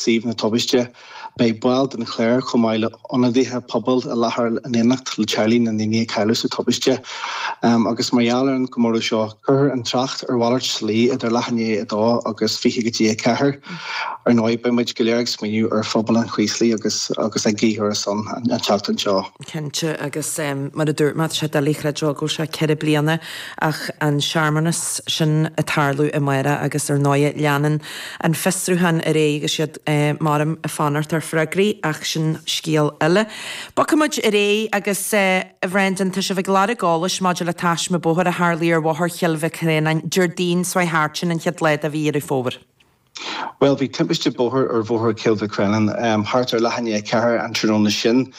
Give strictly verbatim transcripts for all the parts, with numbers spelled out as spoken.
suíomh na tubaiste. Beidh baill den chléir chomh maith le ionadaithe pobail i láthair in éineacht le teaghlaigh na ndaoine a cailleadh sa tubaiste. Agus mar gheall ar an gcomóradh seo, cuirfear an trácht ar mhalairt slí idir leath i ndiaidh a dó agus fiche go dtí a ceathair. Ar ndóigh, beidh muid go léir ag smaoineamh ar phobal an Chraoslaigh agus agus ag guí ar a son an tseachtain seo. Cinnte, agus mar a dúirt mé, tá sé doiligh a chreidiúint go bhfuil sé ceithre bliana ach an searmanas sin ag tarlú amárach agus ar ndóigh leanann an fiosrúchán ar aghaidh agus iad maram ag fanacht ar freagraí ach sin scéal eile. Bogfaidh muid ar aghaidh agus a Bhrendan, tá sibh ag lorg eolais maidir le taisme bóthair a tharlaigh ar Bhóthar Chill Mhic Réanáin Déardaoin seo thart, sin an chéad lá de mhí Dheireadh Fómhair. Bhuel, bhí timpiste bóthair ar Bhóthar Chill Mhic Réanáin thart ar leath i ndiaidh a ceathair an tráthnóna sin.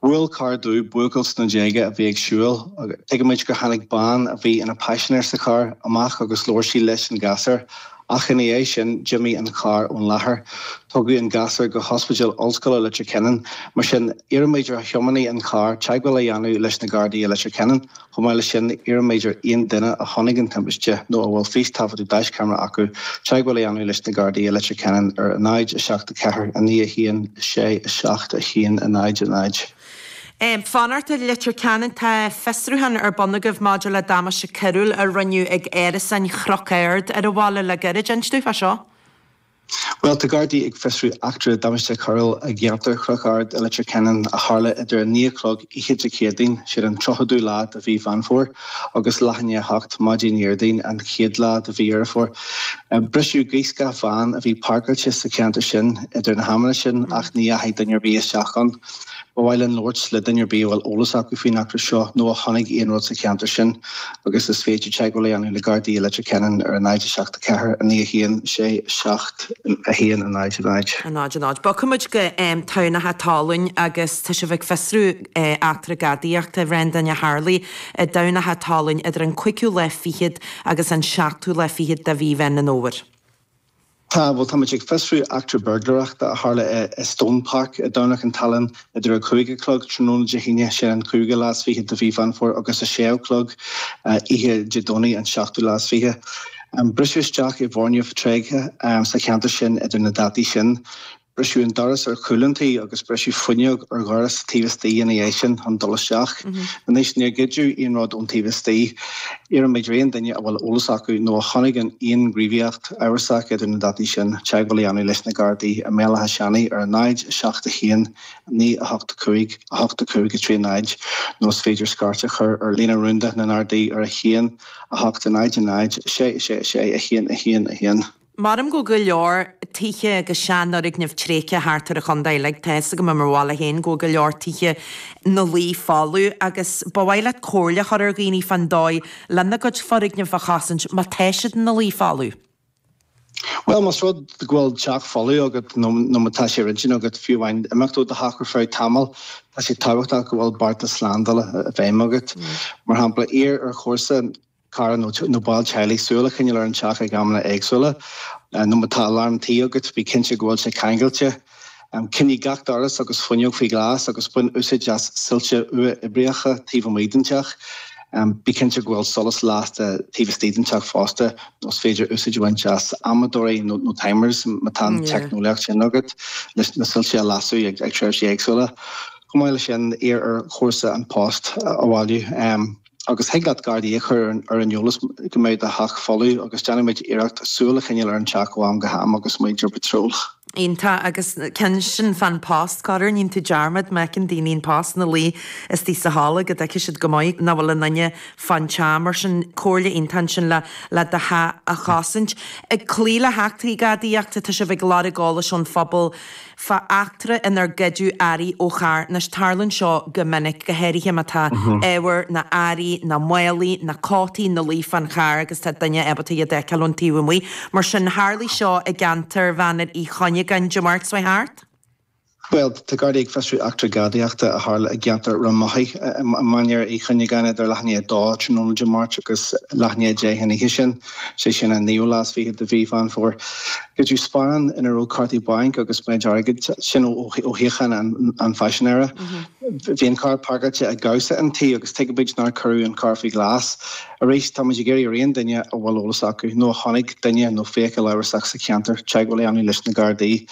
Bhuail carr dubh buachaill sna déaga a bhí ag siúl. Tuigimid gur tháinig bean a bhí ina paisinéir sa charr amach agus labhair sí leis an ghasúr. Ach ina dhiaidh sin, d'imigh an carr ón láthair. Tugadh an gasúr go hOspidéal Ollscoile Leitir Ceanainn. Mar sin, iarraimid ar thiománaí an chairr teagmháil a dhéanamh leis na Gardaí i Leitir Ceanainn. Chomh maith leis sin, iarraimid ar aon duine a chonaic an timpiste nó a bhfuil fístaifeadadh daischeamara acu teagmháil a dhéanamh leis na Gardaí i Leitir Ceanainn ar náid a seacht a ceathair a naoi a haon a sé a seacht a haon a náid a náid. Fanacht i Leitir Ceanainn, tá fiosrúchán ar bun agaibh maidir le damáiste coiriúil a rinneadh ag árasáin Chnoc Ard ar an bhaile le gairid. Inis dúinn fá seo. Bhuel, tá Gardaí ag fiosrú eachtra damáiste coiriúil i gceantar Chnoc Ard i Leitir Ceanainn a tharla idir a naoi a chlog oíche Dé Céadaoin, siad an tríochadú lá de mhí Mheán Fómhair, agus leath i ndiaidh a hocht maidin Dhéardaoin, an chéad lá de mhí Dheireadh Fómhair. Briseadh gaothscáth bhán a bhí páirceáilte sa cheantar sin idir na hamanna sin ach ní dheachaigh duine ar bith isteach ann. Ba mhaith linn labhairt le duine ar bith a bhfuil eolas acu faoin eachtra seo nó a chonaic aon rud sa cheantar sin agus is féidir teagmháil a dhéanamh le Gardaí i Leitir Ceanainn ar a náid a seacht a ceathair a naoi a haon sé seacht a haon a náid a náid. A náid a náid. Bogfaidh muid go Tamhnach an tSalainn agus tá sibh ag fiosrú eachtra gadaíochta, a Bhrendan, a tharlaigh i dTamhnach an tSalainn idir an cúigiú lá fichead agus an seachtú lá fichead de mhí Mheán an Fhómhair. Tá, bhuel, táimid ag fiosrú eachtra buirgléireachta a tharla i Stone Park i dTamhnach an tSalainn idir a cúig a chlog tráthnóna Dé hAoine, sin an cúigiú lá is fiche de mhí Mheán Fómhair, agus a sé a chlog oíche Dé Domhnaigh, an seachtú lá is fiche. Briseadh isteach i bhfoirgneamh tréigthe sa cheantar sin idir na dátaí sin. Briseadh an doras ar chúl an tí agus briseadh fuinneog ar dhoras taobh istigh ina dhiaidh sin chun dul isteach. Anois, níor goideadh aon rud ón taobh istigh. Iarraimid ar aon duine a bhfuil eolas acu nó a chonaic aon ghníomhaíocht amhrasach idir na dátaí sin teagmháil a dhéanamh leis na Gardaí i mBéal Átha Seanaidh ar a náid, a seacht a haon, naoi a hocht a cúig, a hocht a cúig a trí náid nó is féidir scairt a chur ar líne rúnda na nGardaí ar a haon, a hocht, a náid, a náid, a sé, a sé, a sé, a haon, a haon, a haon. Maram go bhfuil go leor tithe agus seanfhoirgnimh tréigthe thart ar an chontae uilig. Tá fhios agam i mo bhaile féin go bhfuil go leor tithe 'na luí folamh agus ba mhaith leat comhairle a chur ar dhaoine fán dóigh lena gcuid foirgneamh a chosaint má tá siad ina luí folamh. Bhuel, más rud go bhfuil teach folamh agat nó nó má tá sé ar intinn agat fiú amháin imeacht ó do theach ar feadh tamaill, tá sé tábhachtach go bhfuil bearta slándála i bhfeidhm agat. Mar shampla, iarr ar chomharsa, cara nó ball teaghlaigh súil a choinneáil ar an teach ag amanna éagsúla. Nó má tá alarm tí agat, bí cinnte go bhfuil sé ceangailte. Coinnigh gach doras agus fuinneog faoi ghlas agus bain úsáid as soilse uathoibríocha taobh amuigh den teach. Bí cinnte go bhfuil solas lasta taobh istigh den teach fosta, nó is féidir úsáid a bhaint as amadóirí nó timers má tá an teicneolaíocht sin agat leis na soilse a lasadh ag tréimhsí éagsúla. Chomh maith leis sin, iarr ar chomharsa an post a bhailiú. Agus thig leat Gardaí a chur ar an eolas go mbeidh do theach folamh agus déanfaimid iarracht súil a choinneáil ar an teach ó am go ham agus muid ar patról. Iontach, agus ceann sin fán post, corruair níonn tú dearmad má fheiceann daoine an post ina luí istigh sa halla go dtuigfidh siad go maith nach bhfuil aon duine fán teach, mar sin comhairle iontach ansin le le do theach a chosaint. Ag cloí le heachtraí gadaíochta, tá sibh ag lorg eolais ón phobal fá eachtra inar goideadh earraí ó charr. Anois, tarlaíonn seo go minic, go háirithe má tá ábhar ná earraí ná málaí ná cótaí ina luí fán charr agus tá duine ábalta iad a fheiceáil ón taobh amuigh. Mar sin, tharlaigh seo i gceantar Mhainir Uí Chuinneagáin Dé Máirt seo thart. Bhuel, tá Gardaí ag fiosrú eachtra gadaíochta a tharla i gceantar Ráth Mothaí i Mainéar Uí Chuinneagáin idir leath i ndiaidh a dó tráthnóna Dé Máirt agus leath i ndiaidh a deich an oíche sin, sé sin an naoú lá is fiche de mhí Mheán Fómhair. Goideadh sparán ina raibh cártaí bainc agus méid airgid, sin ó shuíochán an phaisinéara. Bhí an carr páirceáilte i gcabhsa an tí agus tuigimid nár cuireadh an carr faoi ghlas. Arís, táimid ag iarraidh ar aon duine a bhfuil eolas acu nó a chonaic duine nó feithicil amhrasach sa cheantar teagmháil a dhéanamh leis na Gardaí.